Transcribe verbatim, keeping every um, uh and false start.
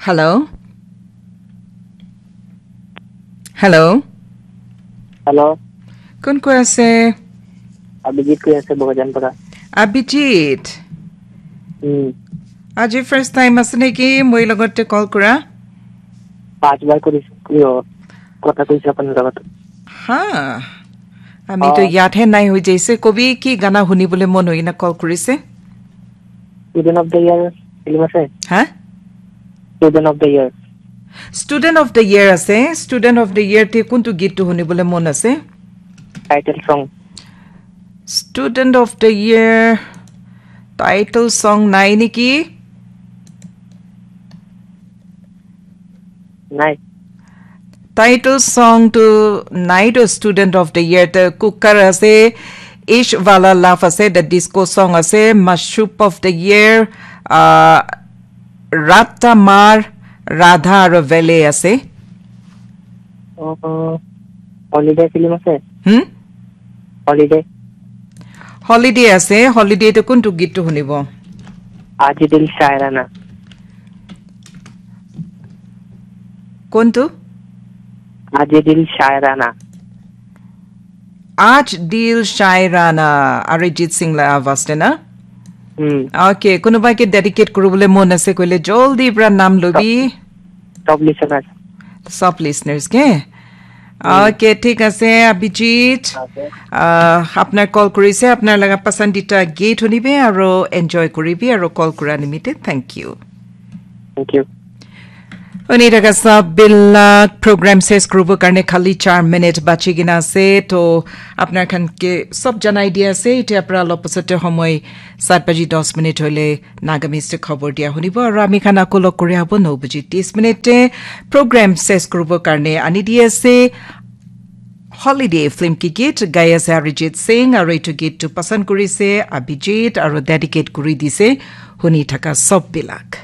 Hello? Hello? Hello, Kun koi ase? Abhijit koi ase Bokajan para. Abhijit. Hmm. Aji first time ase neki moi logote call kura? Paanch bar korisu. Yo, kotha koise apni logot. Ha. Ami to Ah. Yaad hai nai hoi jaise. Kobi ki gana huni bole mon hoi na call kurise? Student of the year film ase? Ha? Student of the year. Student of the year ase. Student of the year te kuntu git tu huni bole mon ase? Title song. Student of the year title song nai neki? Nai. Title song tu nai to student of the year te cooker ase, Ish Wala Love ase, the disco song ase, Mashup of the year, uh, Rata Mar, Radha aro Vele ase. Oh, holiday film ase? Hmm? Holiday. Holiday ase, holiday to kuntu git tu hunibo? Aaj Dil Shairana. Kuntu? Aaj Dil Shairana. Aaj Dil Shairana, Arijit Singh la awaz te na? Hmm. Okay, kunuba ke dedicate kuribole mon ase koile joldi pra nam lobi. Top listener. Sub listeners ke? Okay, thik ase, Abhijit. Uh, apnar call kurise, apnar laga pasandita git hunibe aro enjoy kuribi aro call kura nimite. Thank you. Thank you. Huni thaka sab bilak program ses kuribo karne khali char minute bachi kena ase. To apnar khan ke sab janai dia ase. Itya pra lop pasate homoi sat baji dos minute hoile Nagamese te khobor dia hunibo. Aro ami khan ako log kuri abo no baji tis minute te program ses kuribo karne ani dia ase. Holiday film ki git gai ase Arijit Singh, aro itu git tu pasand kurise Abhijit, aro dedicate kuri dise huni thaka sab bilak.